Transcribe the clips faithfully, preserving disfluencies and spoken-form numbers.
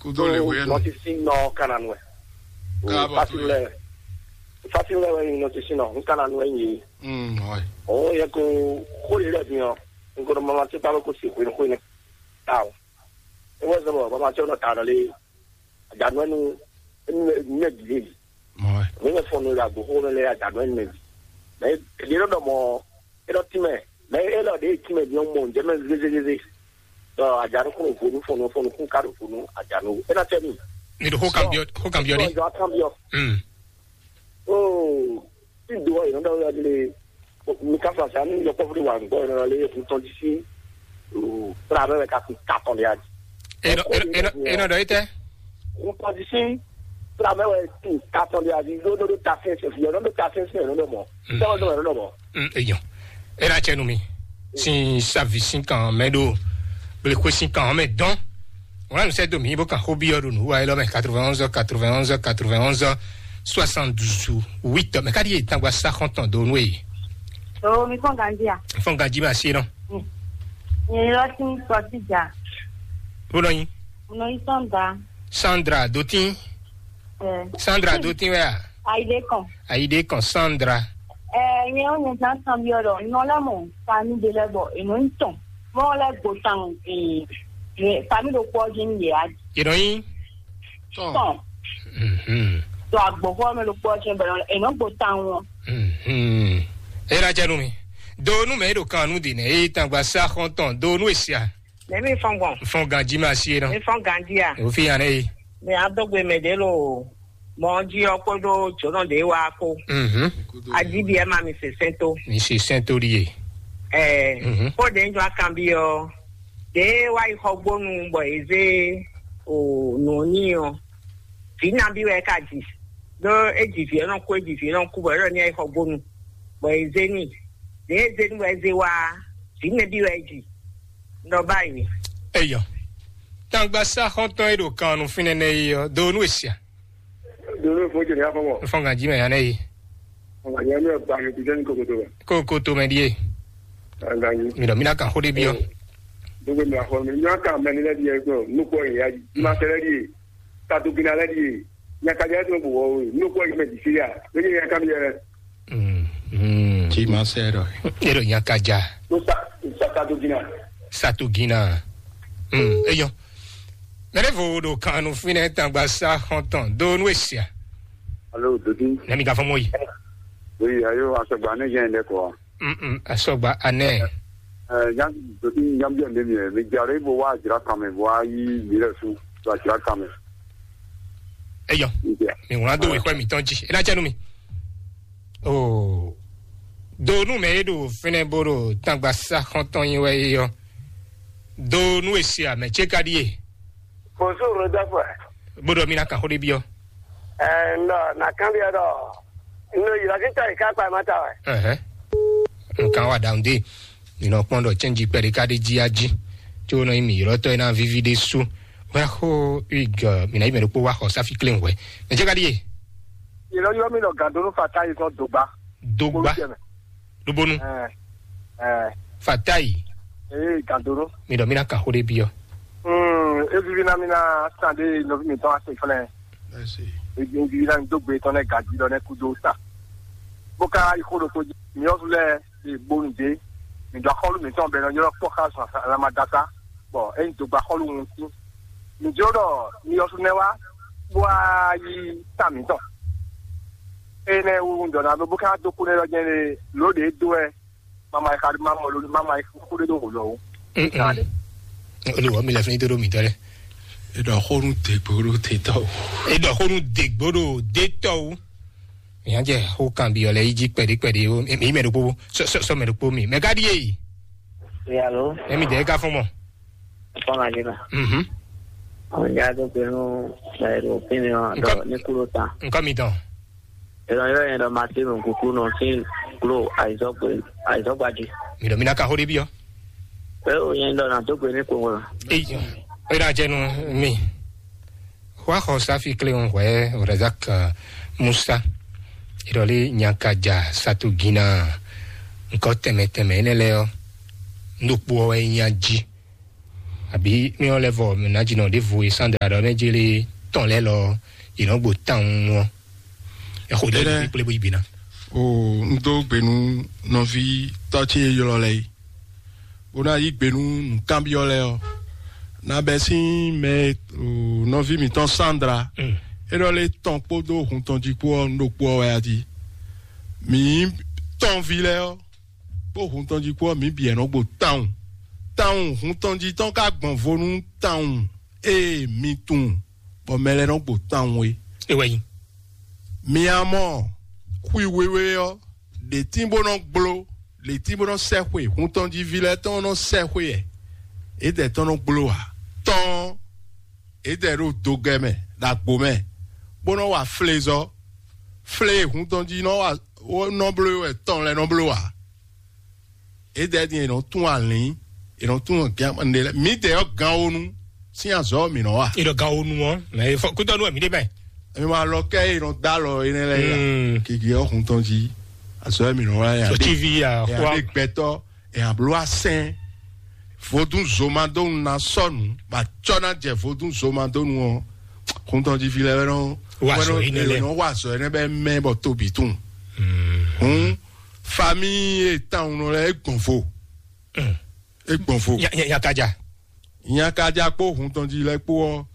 Kúdó lè wé nɔ. Nɔtisi nɔ Kananu wɛ. Káàbọ̀ tó yẹ. Fásilẹ̀ wɛ nyi nɔtisi nɔ, n Kananu wɛ nyi. Mm, ouais. Òun yẹ kó xó lè lɛ bi ɔ, n ko mama tí bá kó si xwé xwé ne. Taw. E wɛ zɔn bɔ mama tí nɔ ta nɔ lé. Àjànú ẹnu ẹnu ẹnu ẹbí lè. Ouais. Mi ne fɔn nɔ ya gbó xó lɛ àjànú ẹnu ẹbí. Mɛ èdè ló dɔ mɔ e lɔ tìmɛ, mɛ e lɔ ɖe tìmɛ bi ɔn mɔ njɛ mɛ zézézé. Dɔ àjànú kúrò fonu fɔnu fɔnu kún ká ɖo fonu àjànú e na tɛ mi. Mi ɖo xó kan byɔ, xó kan byɔ ɖi. Xó kan byɔ. Mm. Oo, tí do ɔ yìí nɔ dɔ wɛ lé. Mi ka fa sa ní yɔkpɔ́vú wa gbɔ yìí nɔ lé kun tɔn jí sí. Pra bɛ ka kun katɔn de adi. Enɔ enɔ enɔ enɔ dɔ yi tɛ. Kun tɔn jí sí. Pra bɛ wɛ kun katɔn de adi. Yóò nɔ ɖo ta fɛn fɛn fi yɔ nɔ ɖo ta fɛn fɛn yɔ nɔ mɔ. Tɛwɔ dɔ yɔ nɔ mɔ. Mm, eyan. Ena cɛ nu mi. Sin savi sin kan mɛ ɖo. Bele xwe sin kan mɛ dɔn. Wọn anu sɛ do mi bó kan xó byɔ́ ɖo nǔ wa élɔ́ mɛ quatre-vingt-onze quatre-vingt-onze quatre-vingt-onze soixante-douze huit mɛ káɖí yě tangba sá xɔ́ntɔn dó nú èyí. O mi fɔn ganji a? Fɔn ganji ma sí nɔ. Nyɛ yɔ sí kɔsíjà. Bó nɔ yín. Mo nɔ yí Sandra. Sandra dótín. Ɛ. Sandra dótín wɛ a? Ayide kan. Ayide kan Sandra. Ɛ nyɛ ó nyɛ zan kan byɔ́ ɖɔ nɔ lɛ mɔ fami ɖe lɛ bɔ ènɔ ń tɔn mɔ lɛ gbo tan ee fami ɖo kpɔ jí ní yɛ a. Yě nɔ yín. Tɔn. Tɔn. Mhm. To agbɔxɔ mɛ ɖo kpɔ jí bɛ ènɔ gbo tan wọn. Mhm. E na jɛ nu mi. Do nu mɛ e ɖo kan nu di nɛ e tangba sa xɔntɔn do nu esia. Mɛ mi fɔn gbɔn. Fɔn ganji ma si e nɔ. Mi fɔn ganji a. O fi yan ne yi. Mi a dɔgbe mɛ de lo. Mɔ jí ɔ kpódó jǒnɔ ɖě wá kó. Mhm. Ajíbi ɛ ma mi se sɛn tó. Mi se sɛn tó ɖíe. Ɛɛ Mhm. Kó ɖě ń jɔ akanbi ɔ ɖě wá yi xɔ gbónu bɔ è zé o nǔ ní ɔ vǐ nabí wɛ é ka ji ɖó é ji vǐ ɛ nɔ kú é ji vǐ ɛ nɔ kú bɔ é ɖɔ ní ɛ yi xɔ gbónu bɔ è zé ní ɖě é zé ní bɔ é zé wá vǐ nabí wɛ é ji. Nɔ báyìí. Eyɔ. Tangba sa xɔntɔn e ɖo kan nu fínɛ́ nɛ yi ɔ do nú esia. Donu fún jẹ ní afọwọ́. Fɔn ganji mɛ yan nɛ yi. Ọ̀gá yẹn mi ò gbà mí kúndé ní kòkòtò rẹ̀. Kó kó tó mɛ ɖíe. Ọ̀gá yìí. Mi ɖɔ mi ná kan xó ɖé byɔ́. Gbogbo mi àfọ mi ní wọn kà mẹ nílẹ̀ díẹ̀ gbọ́n nukọ ìyá yìí. Má tẹ́lẹ̀ díẹ̀. Tàtó gíná lẹ́ díẹ̀. Nyakadza tó bò wọ́ nukọ ìyá mẹ jì síríà. Lóye yẹn ká mi yẹ. Mm, mm. Tí ma sẹ́ rọ. E ɖo nyakaja. Ló sa sa tàtó gíná. Satugina. Mm, eyɔ. Mɛɖevo ɖo kan nu fínɛ́ tangba sa xɔntɔn do nú esia. Alo, Dodi. Nɛmi ka fɔ mɔ yi. Oui, ayo, asɔgba ne yɛn lɛ kɔ. Mm, mm, asɔgba anɛ. Eh, nyam, Dodi, nyam jɛ ne mi, mi jare bo wa jira kan mi, bo wa yi mi lɛ su, wa jira kan mi. Eyɔ. Ndia. Mi wla do wekɔ mi tɔn ji. E na jɛ nu mi. Oh. Do nu mɛ e ɖo fínɛ́ bó ɖo tangba sa xɔntɔn yi wɛ eyɔ. Do nu esia mɛ ce ka ɖie. Bonjour, Rodolphe. Bó ɖɔ mi na kan xó ɖé byɔ́. Ɛɛ, n ɖɔ na kanbyɔ́ ɖɔ n ɖo ylɔ́ kí tɔ́ yi ká kpa ma ta wɛ. Ɛhɛn. Nkan wa ɖaŋ ɖe. Mi nɔ kpɔn ɖɔ cɛnji kpɛɖe ka ɖe jí a jí. Tso nɔ nyi mi ylɔ́tɔ́ e na víví ɖé sú. Wɛ xó ig mi na yi mɛ ɖokpó wa xɔ sáfi klé wɛ. Mɛ jɛ ka ɖie. Ylɔ́ ylɔ́ mi ɖɔ gǎdónú fata yi sɔn dogba. Dogba. Kpolú jɛ mɛ. Lóbónú. Ɛɛ, ɛɛ. Fatayi. Ee, gandoro. Mi ɖɔ mi na kan xó ɖé byɔ́. Hmm, evivi na mi na san ɖe nɔvi mi tɔn ase fɛnɛ. Evivi na mi dó gbe tɔn nɛ gaji lɔ nɛ kudo sa. Bó ká yi xó ɖokpó jí. Mi ɔ́ lɛ e gbónu dé. Mi dó axɔ́lú mi tɔn bɛ nɔ ylɔ́ kpɔ́ xá zɔn alamadasa. Bɔ eyin dogba xɔ́lú ŋutí. Mi jló ɖɔ mi ɔ́ nɛ wá bó wá yí ta mǐtɔn. Énɛ́ wú un ɖɔ ná ɖó bó ká dó kú nɛ́ ɖɔ jɛ́n lé lǒ ɖě dó wɛ mama yi xa ɖó má mɔ ló má ma yi xú ɖé ɖó wǒ lɔ ó. Olùwọ́ mi lɛ fún yín tó ɖó mǐtɔn lɛ. Eɖɔ xó nú dègbò ɖó tètɔ o. Eɖɔ xó nú dègbò ɖó dètɔ o. Ìyá jẹ xó kan bi ɔlẹ yí jí kpɛɖé kpɛɖé o. Èmi mɛ ɖokpó sɔ sɔ mɛ ɖokpó mi mɛ ká ɖíe yìí. Yàrá. Èmi dẹ̀ ká fún mọ. Fún ma jìnnà. Mhm. Àwọn ìyá tó pinnu ẹ̀rọ pinnu ọ̀dọ́ ní kúrò tán. Nǹkan mi tán. Ìrọ̀ yóò yẹn lọ máa tí mi kúkú nù sí kúrò àìsọ́gbàjì. Mi lọ mi náà ka xó dé bí ọ. Pé o yẹn lọ nà tó gbé ní kò wọ́n. Eyi, o yẹn náà jẹnu mi. Wa xɔ safi kle ŋu hwɛ Razak Musa. Ìrọ̀lẹ́ nyakaja satugina. Nǹkan tẹ̀mẹ̀tẹ̀mẹ̀ yẹn lẹ ọ. Ndokpo ọ yẹn nya jí. Àbí mí ɔ́ lɛ́ vɔ mǐ ná jí nɔ ɖěvo e Sandra ɖɔ mɛ jélé tɔn lɛ́ lɔ yě nɔ gbo tawun ɔ́. Ɛ xo ɖe Éɖɛ́. Kplé bó yi bǐ ná. O, un dó gbe nú nɔví tɔ́ ce e ylɔ́ lɛ́ɛ é. Bó ná yí gbe nú nǔkanbyɔ́ lɛ́ɛ ɔ́. Ná bɛ́ sín mɛ, o, nɔví mǐtɔn Sandra. Mm. É ɖɔ lé tɔn kpódó hun tɔn jí kpó ɔ́, un ɖo kpó ɔ́ wɛ a jí. Mǐ tɔnví lɛ́ɛ ɔ́, kpó hun tɔn jí kpó ɔ́, mǐ bǐ ɛ nɔ gbo tawun. Tawun hun tɔn jí tɔn ka gbɔn vo nú tawun e mi tunwun bɔ mɛ lɛ́ɛ nɔ gbo tawun é. É wɛ nyí. Mi a mɔ xwi wéwé ɔ́, ɖě tín bó nɔ gbló, ɖě tín bó nɔ sɛ́ xwe, hun tɔn jí ví lɛ́ɛ tɔn nɔ sɛ́ xwe ɛ, é dɛ tɔn nɔ gbló ǎ. Tɔn é dɛ ɖo dogɛ mɛ, ɖo agbo mɛ, bó nɔ wa flezɔ. Flé e hun tɔn jí nɔ wa, nɔ bló wɛ tɔn lɛ́ɛ nɔ bló ǎ. É dɛ din è nɔ tún alǐn, è nɔ tún gǎn ɖe lɛ́ɛ. Mǐ dɛ ɔ́ gan wonu sín azɔ̌ mǐ nɔ wa. Ìdɔ gan wonu ɔ́, mɛ fɔ kútɔ nú ẹ̀mí dé báyìí. Èmi máa lɔ kẹ́ è nɔ dá lɔ énɛ́ lɛ́ɛ yá. Mm. Kìkì ɔ́ hun tɔn jí azɔ̌ mǐ nɔ wa yá. So T V ya, ẹ̀ wa- àbí gbɛtɔ́, ẹ̀ àbló asɛn. Vodún zomadónu ná sɔ́nu, bá cɔ́ ná jɛ vodún zomadónu ɔ́. Hun tɔn jí fi lɛ́ɛ wɛ nɔ Wa wɛ azɔ̌ nɔ énɛ́ lɛ́ɛ. Nɔ wa azɔ̌ énɛ́ bɛ mɛ bɔ tóbi tún. Mm. Hun famíyi e tawun nɔ lɛ é gbɔn vo. Mm. É gbɔn vo. Nya- nya- nyakaja. Nyakaja kpó hun tɔn jí lɛ kpó ɔ́,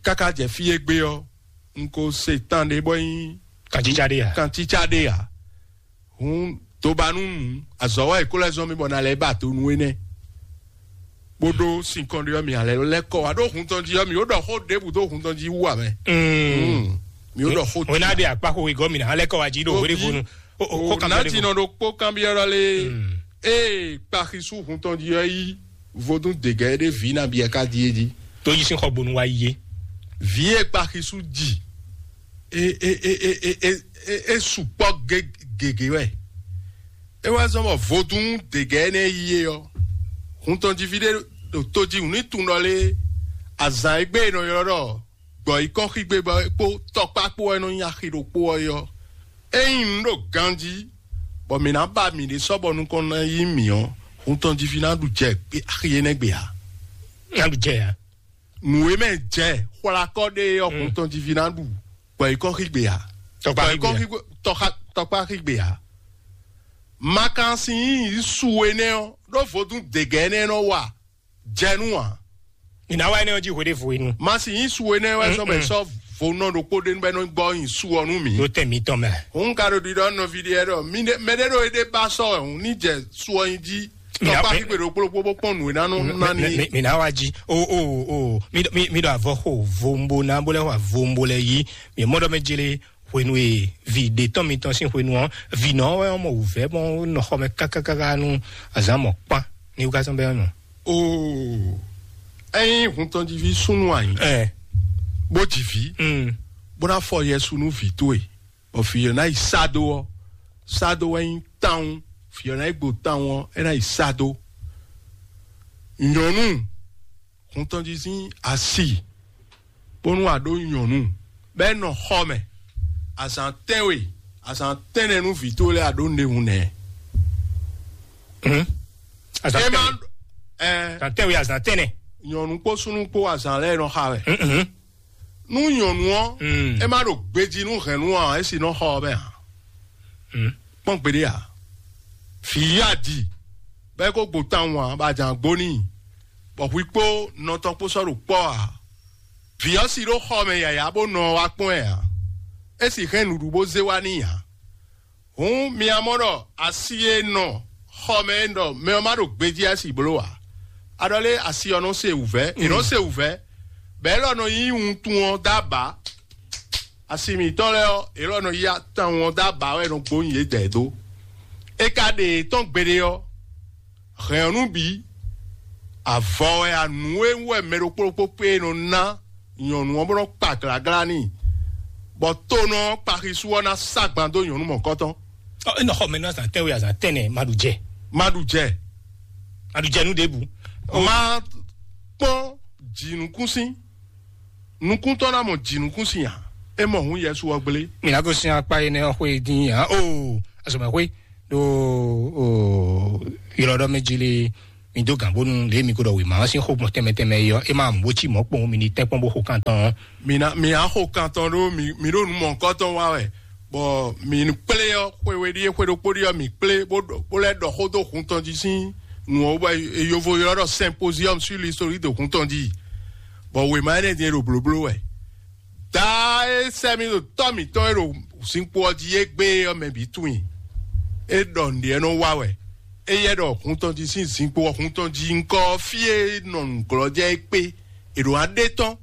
káká jɛ fí e gbé ɔ́, un ko se tan ɖé bɔ nyí Kantítsá ɖé ya. Kantítsá ɖé ya. Hun dóbanú nǔ azɔ̌ wá è kó lɛ́ zɔ́n mì bɔ ná lɛ́ ba do nú énɛ́. Bó ɖó sinkɔn ɖé ɔ́, mì alɛ lɛ́ kɔ wá ɖó hun tɔn jí ɔ́, mì ó ɖɔ xó ɖěbǔ dó hun tɔn jí wú ǎ mɛ. Mm. Mì ó ɖɔ xó wena ɖe akpa xo igɔ mi na alɛ kɔ wa ji ɖo wele funu. O o ko kan ná bɛ jinɔ ɖo kpó kanbyɔ́ ɖɔ lé. Mm. Ee kpaxisú hun tɔn jí ɔ́ yí vodún dègɛ ɖé vǐ nabí ɛ ká díe jí. Tó yí sín xɔ gbonu wa yí yé. Vǐ e kpaxisú jì e e e e e e e sukpɔ gégé wɛ. E wá zɔn bɔ vodún dègɛ énɛ́ yí é ɔ́, hun tɔn jí fí ɖé ɖo tó jí wǔ ní tunɖɔ lé azǎn e gbé e nɔ ylɔ́ ɖɔ gbɔ̌ yi kɔn xígbe bɔ é kpó tɔkpá kpó wɛ nɔ nyi axi ɖokpó ɔ́ é ɔ́. Ényí un ɖo ganjí, bɔ mǐ ná ba mǐɖée sɔ́ bɔ nukɔn ná yí mǐ ɔ́, hun tɔn jí fí ná ɖu jɛ axi énɛ́ gbe ǎ. Ná ɖu jɛ ya. Nǔ e mɛ jɛ xwlakɔ ɖe ɔ́, hun tɔn jí fí ná ɖu gbɔ̌ yi kɔn xígbe ǎ. Tɔkpá gbɔ̌ yi kɔn xígbe ǎ. Xígbe tɔkpá xígbe ǎ. Makansi yí su énɛ́ ɔ́, ɖó vodún dègɛ énɛ́ nɔ wa jɛ nú ǎ. Ìnáwó énɛ́ ɔ́ jí hwe ɖé vo inú. Masi yín su énɛ́ wɛ sɔ́ bɛ sɔ́ vo nɔ ɖokpó ɖé nú bɛ nɔ gbɔ yin su ɔ́ nú mǐ. Ló tɛ mǐ tɔn mɛ. Òun ka ɖo ɖiɖɔ nɔví ɖé ɖɔ mí ɖé mɛ ɖé ɖo éɖé ba sɔ́ wɛ òun ní jɛ su ɔ́ yin jí. Tɔkpa xígbe ɖokpó ɖokpó bó kpɔn nǔ e ná nɔ ná ní. Mǐ ná wá jí o o o mí ɖɔ avɔ xo vombo ná bó lɛ xo avombo lɛ yí mǐ mɔ ɖɔ mɛ jele hwenu e vi ɖe tɔn mitɔn sín hwenu ɔ́, vi nɔ wɛ mɔ wǔvɛ́ mɔ nɔ xɔ mɛ kákákáká nú azǎn mɔ kpán ní wúkásán bɛ nɔ. Oo, ɛyin hun tɔn jí vi súnnu anyi. Ɛ. Bó jí vi. Mm. Bó ná fɔ yɛ su nú vi towe. Bɔ fi yɔ ná yi sá dó ɔ, sá dó wɛ nyí tawun. Fi yɔ ná yi gbo tawun ɔ, é ná yi sá dó. Nyɔnu hun tɔn jí sín asi bónú a ɖó nyɔ̌nu bɔ é nɔ xɔ mɛ azǎn tɛ́nwe, azǎn tɛ́nnɛ nú vǐ towe lɛ́ɛ a ɖǒ nǔɖé hun nɛ́. Azǎn É má tɛ́nwe. Ɛ Azǎn tɛ́nwe, azǎn tɛ́nnɛ. Nyɔ̌nu kpó súnnu kpó azǎn lɛ́ɛ nɔ xa wɛ. Mhm. Nú nyɔ̌nu ɔ́, Mm. é má ɖo gbejí nú hɛ̌nnu ǎ, é sì nɔ xɔ ɔ́ mɛ ǎ. Mm. Kpɔ́n gbeɖé ǎ. Vǐ yí adi bɔ é ko gbo tawun ǎ, bɔ a jǎn gbo n'i, bɔ hwi kpó nɔ tɔn kpó sɔ́ ɖo kpɔ́ ǎ. Vǐ ɔ́ si ɖó xɔ mɛ yǎyá bó nɔ ɔ́ wá kpɔ́n ɛ ǎ. É sì hɛn nǔɖuɖu bó zé wá n'i ǎ. Hǔn mi a mɔ ɖɔ asi e nɔ xɔ mɛ e ɖɔ mɛ ɔ́ má ɖo gbejí ɛ si bló ǎ. A ɖɔ lé asi ɔ́ nɔ se wǔvɛ́, è nɔ se wǔvɛ́, bɔ élɔ́ nɔ nyí wuntun ɔ́ dó abǎ. Asi mǐtɔn lɛ́ɛ ɔ́, yě lɔ nɔ yí tawun ɔ́ dó abǎ wɛ nɔ gbónyi yědɛɛ dó. É ka ɖe yě tɔn gbeɖé ɔ́, hɛ̌n ɔ́ nú bǐ, avɔ wɛ anǔ e wú wɛ mɛ ɖokpó ɖokpó kpé e nɔ ná nyɔ̌nu ɔ́ bó nɔ́ kpa glǎglá n'i, bɔ tónɔ ɔ́ kpaxisú ɔ́ ná sá gban dó nyɔ̌nu mɔ̌kɔtɔn. Ɔ, é nɔ xɔ mɛ nú azǎn tɛ́nwe, azǎn tɛ́nnɛ, ma ɖu jɛ. Ma ɖu jɛ. Ma ɖu jɛ nú ɖěbǔ. Má kpɔ́n jǐnukúnsin. Nukúntɔ́ ná mɔ jǐnukúnsin ǎ. É mɔ hǔn Yɛsu ɔ́ gblé. Mi ná gosín akpá énɛ́ ɔ́ xwé dín ǎ. Oo, azɔ̌mɛxwé ɖo ylɔ́ɖɔ́ mɛ jí lé. Mi dó gǎn bónú lě mi ko ɖɔ wěma ɔ́ sín xó gbɔn tɛnmɛ tɛnmɛ é ɔ́, é ma mɔ bó cí mɔ̌ kpowun mi ní tɛ́nkpɔ́n bó xo kan tɔn ɔ́. Mi ná mi á xo kan tɔn ɖó mi mi ɖo nǔ mɔ̌hunkɔtɔn wa wɛ, bɔ mi kplé ɔ́ xwe we ɖíe xwe ɖokpó ɖíe ɔ́ mi kplé bó ɖɔ bó lɛ́ ɖɔ xó dó hun tɔn jí sín nǔ ɔ́ bɔ yovo ylɔ́ ɖɔ symposium sur l'historique de hun tɔn jí, bɔ wěma énɛ́ din e ɖo blǒbló wɛ. Daa e sɛ́ mì ɖo tɔ́ mǐtɔn e ɖo zinkpo ɔ́ jí égbé ɔ́ mɛ bǐ tunwun i. É ɖɔ nǔɖé nɔ wa wɛ. Éyɛ́ ɖɔ hun tɔn jí sín zinkpo ɔ́ hun tɔn jí ŋkɔ ɔ́ fí e nɔ nǔglɔ́jɛ é kpé. È ɖǒ ná ɖe tɔn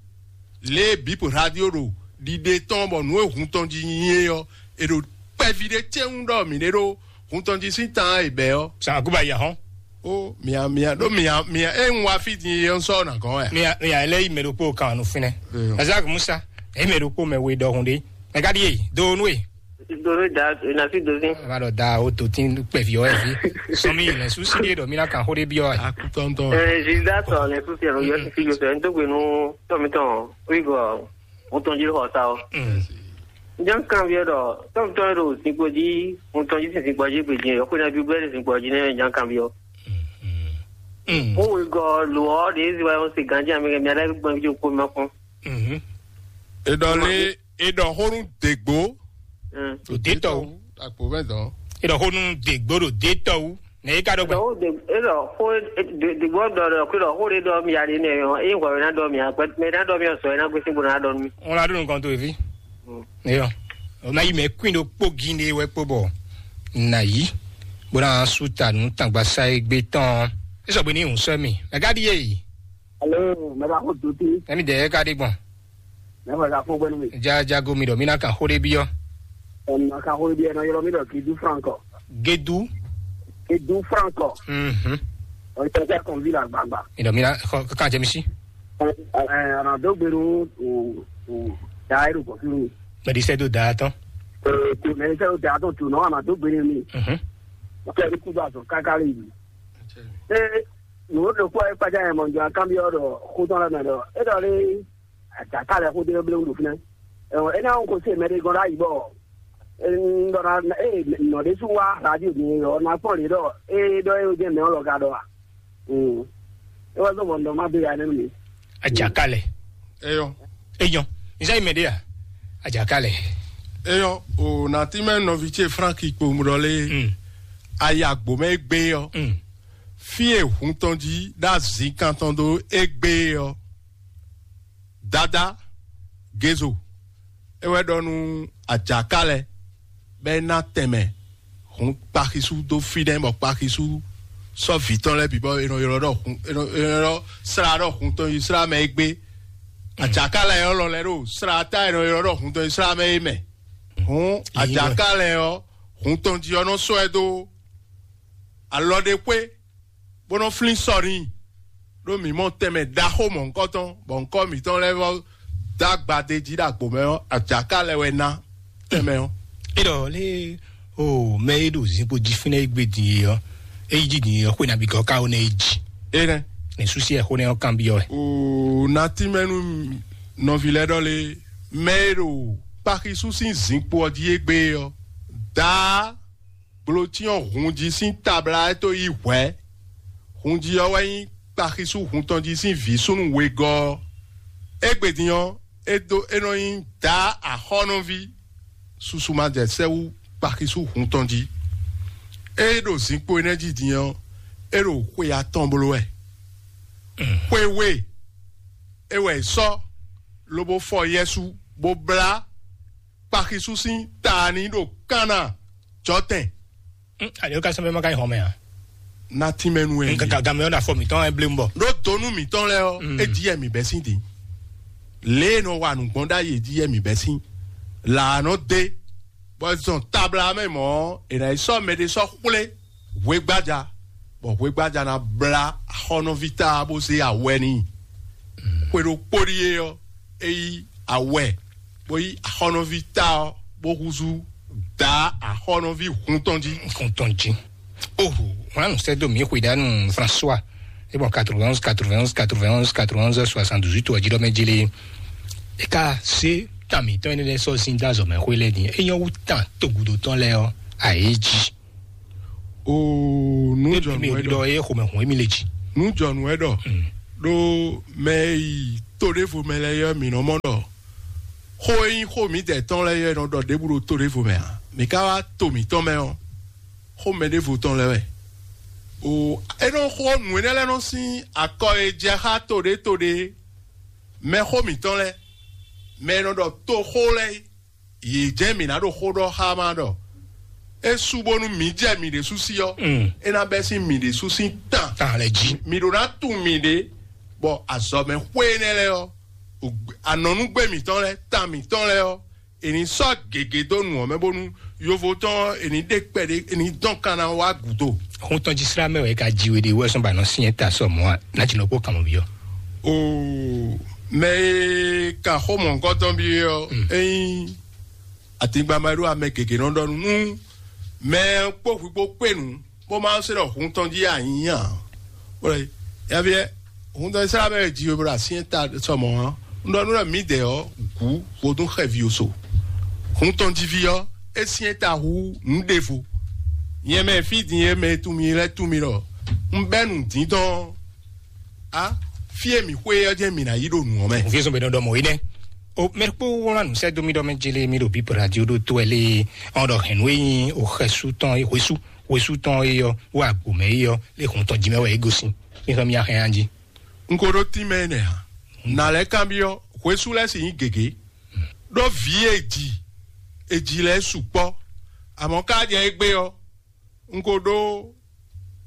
lě e bǐ radio ɖo ɖiɖe tɔn bɔ nǔ e hun tɔn jí nyi é ɔ́, è ɖo kpɛví ɖé cɛ́wú ɖɔ mǐ ɖe ɖó hun tɔn jí sín tan e bɛ̌ ɔ́. Sàn àgùbà yà hɔn. Ó mia mia ɖó mia mia é ń wá fí din é ń sɔ́ nà gɔ́n wɛ. Mia mia lɛ yi mɛ ɖokpó kan nu finɛ. Ezak Musa, e mɛ ɖokpó mɛ we ɖɔhun ɖé. Mɛ ka ɖi e do nu e. Doro da na fi do sin. Ema ɖɔ da o to tin kpɛvi ɔ ɛvi. Sɔmi lɛ susi ɖe ɖɔ mi na kan xó ɖé biɔ ɛ. Akutɔntɔn. Ɛɛ zida sɔ lɛ susi ɛnu yɔ sisi yɔ sɛ n tó gbe nu tɔmi tɔn wigɔ o tɔn jí xɔ sa o. N jẹ́ ń kàn bí ẹ ɖɔ tɔmi tɔn yɛ ɖo zinkpo jí n tɔn jí sin zinkpo jí gbèjì yɔ kó na bí bẹ́ẹ̀ zinkpo jí nɛ n jẹ́ ń kàn bí ọ. Ó wigɔ lò ọ́ ɖe zi wa yɔ se ganjí àmì kɛ mi alẹ́ gbọ́n bí o kó ma kún. Edɔ le edɔ xonu degbo. Ɖo detɔ wu. Akpo mɛ dɔn. Edɔ xonu degbo ɖo detɔ wu. Ne yi ka ɖɔ gbɛ. Ɖɔ de elɔ xo degbo dɔ dɔ kpe ɖɔ xo de dɔ mi ya de nɛ yɔ eye wɔ na dɔ mi ya gbɛ mɛ na dɔ mi sɔ na gbesi bo na dɔ mi. Ŋun la ɖo nukɔn to evi. Eyɔ. O ma yi mɛ kuin ɖo kpó gin de wɛ kpó bɔ na yi. Bo na su ta nu tangba sa egbe tɔn. Esɔ gbe ni ŋun sɔ mi. Mɛ ka ɖi ye yi. Alo, mɛ ba xo doti. Ɛmi dɛ ka ɖi gbɔn. Mɛ ba ka xo gbɛnu mi. Ja jago mi ɖɔ mi na kan xó ɖé biɔ. Ɛm, na ka xo ɖé biɔ, nɔ ylɔ mi ɖɔ Gedu Franco. Gedu. Gedu Franco. Mhm. Ɔ tɛ tɛ kɔn vi la gbagba. Mi ɖɔ mi na xɔ kan jɛ mi si. Ɛ, ɛ, ana do gbenu o o da ero kɔ fi mi. Mɛ di sɛ do da tɔn. Ɛ, to mɛ sɛ do da tɔn to nɔ ana do gbenu mi. Mhm. O tɛ ni kudo azɔ kaka le yi. Ɛ, nǔ ɖokpó e kpájá yɛ mɔ jɔ akámbiɔ ɖɔ xótɔn lɛ mɛ ɖɔ e ɖɔ lé adzaka lɛ xó dé blé ɖo fínɛ. Ɛn é ná ko se mɛ ɖé gɔ́n ɖ'ayǐ bɔ un ɖɔ ná e nɔ ɖé sú wá radio din ɔ ná kpɔ́n lě ɖɔ e ɖɔ e jɛ mɛ ɔ́ lɔ ka ɖɔ a. Un é wá zɔ bɔ un ɖɔ má dó ya nɛ́ nú mi. Adzaka lɛ. Eyɔ. Eyɔ. Nzá yi mɛ ɖé a? Adzaka lɛ. Eyɔ o nati mɛ nɔvi ce Frank kpo mu ɖɔ lé. Mm. Ayi agbo mɛ egbe ɔ. Mm. Fí e hun tɔn jí ɖo azǐn kan tɔn dó égbé ɔ́, Dadá Gézo é wɛ ɖɔ nú Ajaká lɛ́ɛ bɔ é ná tɛnmɛ hun kpaxisú dó fínɛ́ bɔ kpaxisú sɔ́ vǐ tɔn lɛ́ɛ bǐ bɔ è nɔ ylɔ́ ɖɔ hun è nɔ è nɔ ylɔ́ slá ɖɔ hun tɔn yi slá mɛ é gbé. Ajaká lɛ́ɛ ɔ́ lɔ lɛ́ ɖo slá ta è nɔ ylɔ́ ɖɔ hun tɔn yi slá mɛ é mɛ. Hǔn Ajaká lɛ́ɛ ɔ́ hun tɔn jí ɔ́ nɔ sɔ́ ɛ dó alɔ ɖé xwé bó nɔ́ flín sɔ n'i. Ɖó mǐ mɔ tɛnmɛ ɖaxó mɔ̌hunkɔtɔn bɔ ŋkɔ mǐtɔn lɛ́ɛ vɔ dó agbadé jí ɖo agbo mɛ ɔ́, ajaká lɛ́ wɛ ná tɛnmɛ ɔ́. É ɖɔ lé o mɛ e ɖo zinkpo jí fínɛ́ e gbé din e ɔ́, é yi jí din e ɔ́, xwé nabí gɔ́ ká ó nɛ é jí. Énɛ́. Ní súsí ɛ xó nɛ ɔ́ kanbyɔ́ wɛ. O natí mɛ nú nɔví lɛ́ɛ ɖɔ lé mɛ e ɖo kpaxisú sín zinkpo ɔ́ jí égbé ɔ́, daa gblǒcyɔ́n hun jí sín tabla é tó yí hwɛ̌. Hun jí ɔ́ wɛ nyí kpaxisú hun tɔn jí sín vǐ súnnu wegɔ́ ɔ́. Égbé din ɔ́, é dó é nɔ nyí daa axɔ́nɔví susu ma jɛ sɛ́ wú kpaxisú hun tɔn jí. É ɖo zinkpo énɛ́ jí din ɔ́, é ɖo xwe atɔn bló wɛ. Xwe we é wɛ è sɔ́ lobo fɔ Yɛsu bó blá kpaxisú sín ta ní ɖo Kana jɔtɛn. Ale ka sɛn bɛ ma ka yi hɔn mɛ a? Na tínmɛ nu ɛ. Nka gamɛ ɔ́ na fɔ mǐtɔn ɛ blé ń bɔ. Ɖó donu mǐtɔn lɛ ɔ́, é jí ɛ mǐ bɛ́ sín din. Lě e nɔ wa nǔgbɔn ɖ'ayǐ é jí ɛ mǐ bɛ́ sín. Là nɔ dé, bɔ zɔn tabla mɛ mɔ̌, è nǎ yi sɔ́ mɛ ɖé sɔ́ xwlé hwegbaja, bɔ hwegbaja ná blá axɔ́nɔví ta bó zé awɛ n'i. Xwe ɖokpó ɖíe ɔ́, é yí awɛ, bó yí axɔ́nɔví ta ɔ́, bó húzú dǎ axɔ́nɔví hun tɔn jí. Kun tɔn jí. Oho, wọn nù sɛ do mi xwe ɖa nù François. E bɔn quatre-vingt-onze, quatre-vingt-onze, quatre-vingt-onze, quatre-vingt-onze, soixante-dix-huit wɔ jí ɖɔ mɛ jí lé. E ka se tami tɔn ne lɛ sɔ sin da zɔ mɛ xwe lɛ din. E nyɔ wu tan togudo tɔn lɛ ɔ, a ye jí. O nu jɔ mi nɔ ɖɔ ye xɔmɛ hun emi le jí. Nǔjɔnǔ wɛ ɖɔ ɖó mɛ e yi to ɖěvo mɛ lɛ́ɛ ɔ́, mǐ nɔ mɔ ɖɔ xó e nyí xó mǐdɛɛ tɔn lɛ́ɛ ɔ́, è nɔ ɖɔ ɖěbǔ ɖo to ɖěvo mɛ ǎ. Mǐ ka wá to mǐtɔn mɛ ɔ́, xó mɛ ɖěvo tɔn lɛ́ɛ wɛ. O, é nɔ xó nǔ énɛ́ lɛ́ɛ nɔ sín akɔ e jɛ xá to ɖé to ɖé mɛ xó mǐtɔn lɛ́ɛ, mɛ e nɔ ɖɔ toxó lɛ́ɛ é. Yě jɛ́n mǐ ná ɖo xó ɖɔ xá má ɖɔ é su bónú mǐ jɛ mǐ ɖésú sí ɔ́, é ná bɛ́ sín mǐ ɖésú sín tan. Tan lɛ jí. Mǐ ɖó ná tunwun mǐɖée, bɔ azɔ̌mɛ xwé énɛ́ lɛ́ɛ ɔ́, anɔ̌núgbé mǐtɔn lɛ́ɛ, tan mǐtɔn lɛ́ɛ ɔ́, è nǐ sɔ́ gěgé dó nǔ ɔ́ mɛ bónú yovo tɔn ɔ́, è nǐ ɖe kpɛɖé, è nǐ dɔn kan ná wá gǔdo. Xɔ́ntɔn jí slá mɛ wɛ ka ji we ɖe wɛ sɔ́ ba nɔ syɛ́n ta sɔ mɔ̌ a? Nǎ jǐ nɔ kpó kan mɔ̌ byɔ́. O, mɛ e ka xó mɔ̌hunkɔtɔn byɔ́ ɔ́, é nyí atingba ma ɖó amɛ gěgé nɔ ɖɔ nú mɛ kpó hwi kpó kpé nǔ, bó ma se ɖɔ hun tɔn jí anyí ǎ. Bó ɖɔ, yavyɛ, hun tɔn Izlayɛ́li mɛ e ji we bó ɖo asyɛ́n ta sɔmɔ̌ ɔ́, un ɖɔ nú ɖɔ mǐdɛɛ ɔ́, gǔ vodún xɛví oso. Hun tɔn jí ví ɔ́, é syɛ́n ta hú nǔ ɖěvo. Nyɛ mɛ fí din e mɛ e tunwun mì lɛ́ɛ tunwun mì ɖɔ un bɛ́ nǔdíndɔn ɔ́, á, fí e mǐ xwe ɔ́ jɛ́n mǐ ná yi ɖo nǔ ɔ́ mɛ. Vǐ zɔn bɛ nɔ ɖɔ mɔ̌ yi nɛ́. O mɛ kpó wlán nǔ sɛ́ dó mì ɖɔ mɛ jélé mì ɖo bíbɔ radio ɖó tó ɛ lé ɔn ɖɔ hɛn nú e nyí o xɛsú tɔn e hwesú hwesú tɔn e yɔ wo agbo mɛ e yɔ lé hun tɔn jí mɛ wɛ é gosín. Mi hɛn mi ahɛn anjí. Un ko ɖó tínmɛ énɛ́ ǎ. Nǎ lɛ́ kanbyɔ́ hwesú lɛ́ɛ sì nyí gěgé. Ɖó vǐ e ji e ji lɛ́ɛ sukpɔ́, amɔ̌ ká jɛ égbé ɔ́, un ko ɖó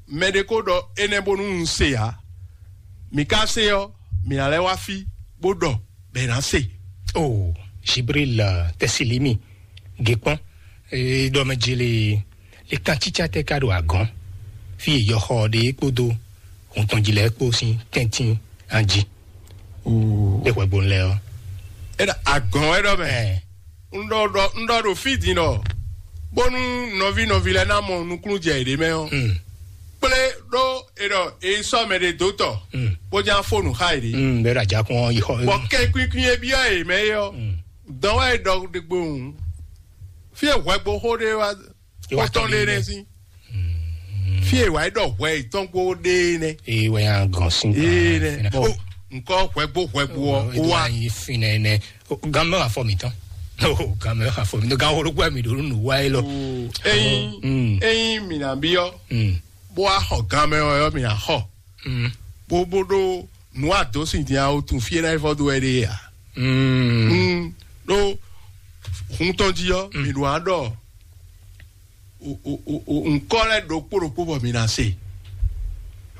mɛɖé ko ɖɔ énɛ́ bónú un se ǎ. Mǐ ka se ɔ́, mǐ ná lɛ́ wá fí bó ɖɔ bɔ è nǎ se. O Jibril Tɛsilimi, gěkpɔ́n, ɖɔ mɛ jele le kan cícá tɛ́ ka ɖo agɔ̌n fí e yɔxɔ ɖe é kpódó hun tɔn jí lɛ́ɛ kpó sín tɛ́ntin anjí. É hwɛgbo lɛ ɔ́. É ɖɔ agɔ̌n wɛ ɖɔ mɛ. Un ɖɔ ɖɔ un ɖɔ ɖo fí din ɖɔ bónú nɔví nɔví lɛ́ɛ ná mɔ nukúnnú jɛ yěɖée mɛ ɔ́, kplé ɖó è ɖɔ è yi sɔ́ mɛ ɖé dó tɔ, bó ján fó nǔ xá yěɖée. Bɛ́ ɖo ajakun ɔ́ yi xɔ. Bɔ kɛnkwíkwín e byɔ́ yě mɛ é ɔ́, dɔn wɛ é ɖɔ ɖe gbo hǔn. Fí e hwɛgbo xó ɖé wá xó tɔn ɖé nɛ́ sín. Fí e wǎ yi ɖɔ hwɛ yětɔn kpó ɖe nɛ́. Ee wɛ ya gɔn sín. Ee nɛ bɔn nkɔ hwɛgbo hwɛgbo ɔ wa. Yi finɛ nɛ. Gan mɛ afɔ mi tɔn. Gan mɛ afɔ mi tɔn gan wolo gbɛ mi ɖo nu wa yi lɔ. Eyin eyin mi na bi ɔ bó wa xɔ gan mɛ ɔ yɔ mi na xɔ. Bó bó ɖó nu ado sin din awo tun fie na ifɔ do wɛ ɖe ya. Ɖó hun tɔn jí ɔ mi ɖo aɖɔ nkɔ lɛ ɖokpó ɖokpó bɔ mi na se.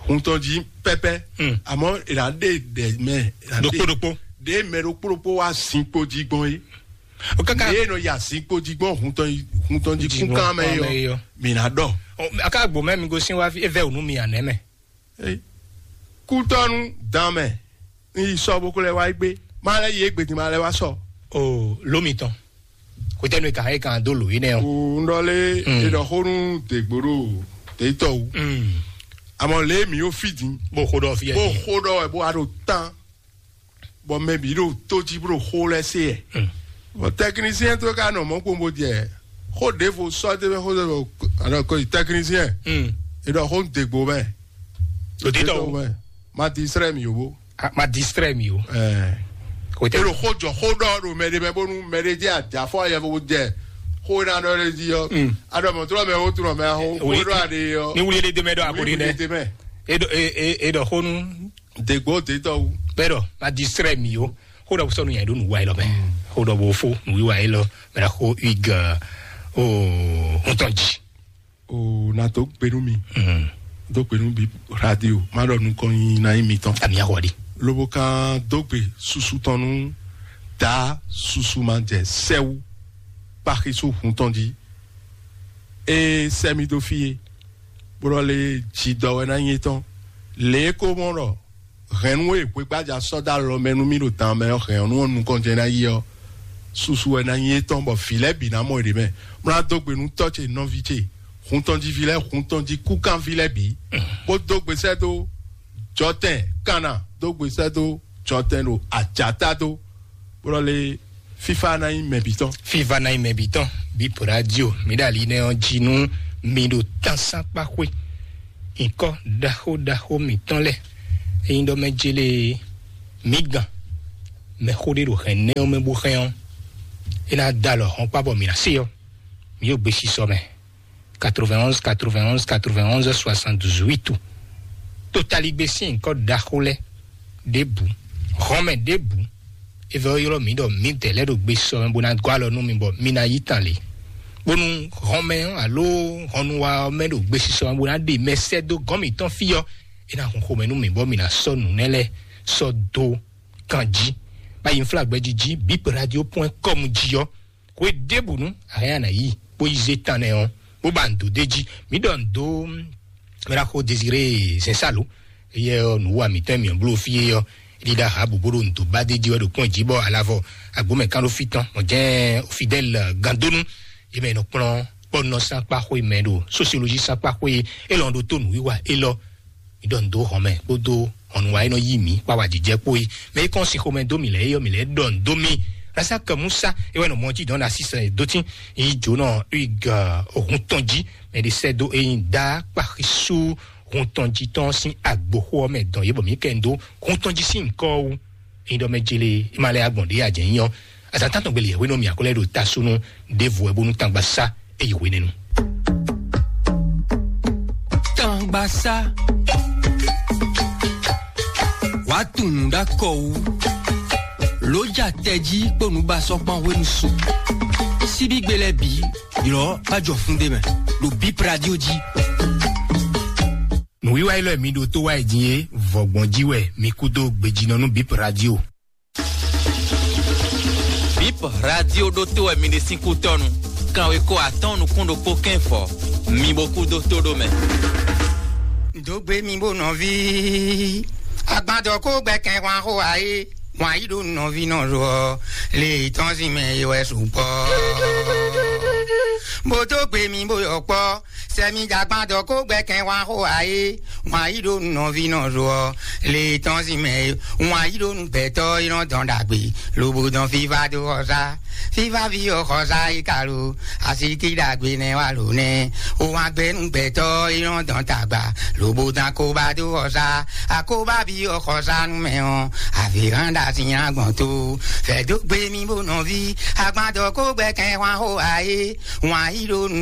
Hun tɔn jí pɛpɛ. Àmọ́ ìlà ɖe ɖɛ mɛ. Ɖokpó ɖokpó. Ɖe mɛ ɖokpó ɖokpó wa zinkpo jí gbɔn yé. O kaka. Ɖe nɔ ya zinkpo jí gbɔn hun tɔn jí kúnkán mɛ yɔ. Mi na ɖɔ. Aka gbo mɛ mi go sin wa fi evɛ onu mi anɛ mɛ. Kútɔnu dan mɛ. N yi sɔ bó kó lɛ wá gbé. Má lɛ yé gbèdì má lɛ wá sɔ. O lómi tɔn. Kòtẹ́nu ka é kan dó lò yín nɛ o. N ɖɔ lé e ɖɔ xó nú dègbòɖo dètɔ wú. Àmọ́ lé mi yóò fìdí. Bó xó ɖɔ fi bó yẹn. Xó ɖɔ wɛ bó wá ɖo tán. Bɔ mɛ bǐ ɖo tó jí bó ɖo xó lɛ́ se yɛ. Bɔ tɛknisiyɛn tó ka nɔ mɔ̌ kpombo jɛ xó ɖěvo sɔ́ dé mɛ xó ɖěvo alɔ ko yi tɛknisiyɛn. E ɖɔ xó nú dègbò mɛ. Lòdì tɔ o. Mɛ ma distrɛ mi o. Ma distrɛ mi o. Ɛɛ. Kòtɛ. E ɖo xó jɔ xó ɖɔ ɖo mɛ ɖe mɛ bónú mɛ ɖe jɛ àjàfɔ yɛfo jɛ xó ɖa ɖɔ ɖe jí yɔ. Aɖɔ mɔtɔrɔ mɛ wo tunɔ mɛ xó xó ɖɔ aɖe yɔ. Ni wuli ɖe mɛ ɖɔ akori nɛ. Wuli ɖe mɛ. E ɖɔ e e e ɖɔ xó nú. Dègbò dètɔ wu. Bɛ ɖɔ ma distrɛ mi o. Xó ɖɔ sɔnu yɛ ɖo nu wa yi lɔ mɛ. Xó ɖɔ bo fo nu wa yi lɔ mɛ ɖa xó ig o ŋutɔ ji. O na dó gbe nú mi. Dó gbe nú bi radio má ɖɔ nukɔn nyi na nyi mitɔn. Ami axɔ ɖi. Lobo kan dó gbe susu tɔn nú da susu ma jɛ sɛwu kpaxisu hun tɔn jí. E sɛ mi dó fie bó ɖɔ lé jidɔ wɛ ná nyí étɔn. Lě e ko mɔ ɖɔ hɛ̌nnu e hwegbájá sɔ́ dó alɔ mɛ nú mì ɖo dan mɛ ɔ́, hɛ̌nnu ɔ́ nukɔn jɛ ná yi ɔ́, susu wɛ ná nyí étɔn, bɔ vǐ lɛ́ɛ bǐ ná mɔ yě mɛ. Mlá dó gbe nú tɔ́ ce nɔví ce, hun tɔn jí ví lɛ́ɛ, hun tɔn jí kúkánví lɛ́ɛ bǐ, bó dó gbe sɛ́ dó jɔtɛn kanna, dó gbe sɛ́ dó jɔtɛn ɖo ajǎta dó, bó ɖɔ lé fífá ná nyí mɛ bǐ tɔn. Fífá ná nyí mɛ bǐ tɔn. Bí pòrádio mi ɖo ali nɛ ɔ́ jí nú mi ɖo tánsákpáxwé. Nyǐkɔ ɖaxó ɖaxó mǐtɔn lɛ́ɛ, ényí ɖɔ mɛ jélé mǐ gán mɛxó ɖé ɖo hɛn nɛ́ ɔ́ mɛ bó hɛn ɔ́, é ná dó alɔ hɔn kpá bɔ mǐ ná se ɔ́, mǐ ɖo gbesisɔ mɛ. Quatre-vingt-onze, quatre-vingt-onze, quatre-vingt-onze, soixante-dix-huit. Totaligbé sín nyǐkɔ ɖaxó lɛ́ɛ ɖěbǔ, hɔnmɛ ɖěbǔ, é vɛ ɔ́ ylɔ́ mǐ ɖɔ mǐdɛɛ lɛ́ɛ ɖo gbesisɔ mɛ bó ná gɔ́ alɔ nú mi bɔ mi ná yí tan lě, bónú hɔnmɛ ɔ́ alo hɔnnuwa ɔ́ mɛ ɖo gbesisɔ mɛ bó ná ɖe mɛ sɛ́ dó gɔ̌n mǐtɔn fí ɔ́, é ná hun xomɛ nú mǐ bɔ mǐ ná sɔ́ nǔ nɛ́ lɛ́ɛ sɔ́ dó kan jí. Bá yi nflá gbɛjí jí bip radio point com jí ɔ́, hwe ɖěbǔ nú a hɛn a nǎ yi bó yi zé tan nɛ ɔ́, bó ba nǔ dó d'é jí. Mǐ ɖɔ nǔ dó mɛɖaxó Désiré Zɛnsalo, éyɛ́ ɔ́ nǔ wa mǐtɔn e mǐ bló fí é ɔ́, é ɖíɖá ha bǔ bó ɖo nǔ dó ba d'é jí wɛ ɖo kpɔ́n jí bɔ alavɔ agbǒmɛ kán ɖó fí tɔn mɔ̌ jɛ́n Fidɛ́l Gandónú, é mɛ è nɔ kplɔ́n kpɔ́nɔ sín akpá xwé mɛ ɖo sosiolózi sín akpá xwé élɔ́ ɖó tó nǔwiwa élɔ́. Mǐ ɖɔ nǔ dó hɔn mɛ kpódó hɔnnu wa e nɔ yí mǐ kpá wá jijɛ kpó yi. Mɛ e kɔn si xomɛ dó mì lɛ́ɛ é yɔ mì lɛ́ɛ ɖɔ nǔ dó mì. Rasaka Musa é wɛ nɔ mɔ jí dɔn na sísɛ dó tín yi jǒnɔ ig ohun tɔn jí. Mɛ ɖé sɛ́ dó eyín dá kpaxisú hun tɔn jí tɔn sín agboxó ɔ́ mɛ dɔn yě bɔ mǐ kɛ ń dó hun tɔn jí sín ŋkɔ wú. Ényí ɖɔ mɛ jélé é ma lɛ́ agbɔn ɖě ajɛ nyí ɔ́, azǎn tántɔn gbélé yɛhwé nɔ mì akwɛ́ lɛ́ɛ ɖo ta súnú ɖěvo wɛ bónú tangba sá é yi hwenɛ́nu. Tangba sá wàá tunwun ɖó akɔ wú ló ja tɛjí kpó nǔbasɔ́kpɔ́n hwenu su. Síbígbe lɛ́ɛ bǐ ylɔ́ bá jɔ fún ɖé mɛ ɖo bip radio jí. Nǔwiwa élɔ́ e mi ɖo tó wá yi din é, vɔ̌gbɔn jí wɛ mi kú dó gbejínɔ nú bip radio. Bip radio ɖótó wɛ mi ɖe sín kútɔ́nu. Kanweko atɔ́ɔ́n nukún ɖokpó kɛ́n fɔ, mi bo kú dó tó ɖó mɛ. Dǒ gbe mi bó nɔví. Agbadɔ kó gbɛ kɛn hwan xó ayé. Wǎn yí ɖó nɔví nɔ ɖo ɔ́, lě tɔn sín mɛ é wɛ sukpɔ́. Bó dó gbe mi bó yɔ kpɔ́. Sɛmi jagban dɔ kó gbɛ kɛn hwan xó ayé. Wǎn yí ɖó nɔví nɔ ɖo ɔ́, lě tɔn sín mɛ é. Wǎn yí ɖó nu gbɛtɔ́ é nɔ dɔn ɖagbe, lobo dɔn fífá dó xɔsá. Fífá ví ɔ́ xɔsá é ka lo. Asíkí ɖagbe nɛ wá lǒ nɛ́. Ó wá gbɛ́ nú gbɛtɔ́ é nɔ dɔn tagba, lobo dɔn akóbá dó xɔsá. Akóbá ví ɔ́ xɔsá nú mɛ ɔ́, avǐ hán ɖa sín agbɔn tó. Fɛ̌dó gbé mi bó nɔví. Agbadɔ kó gbɛ kɛn hwan xó ayé. Wǎn yí ɖó nu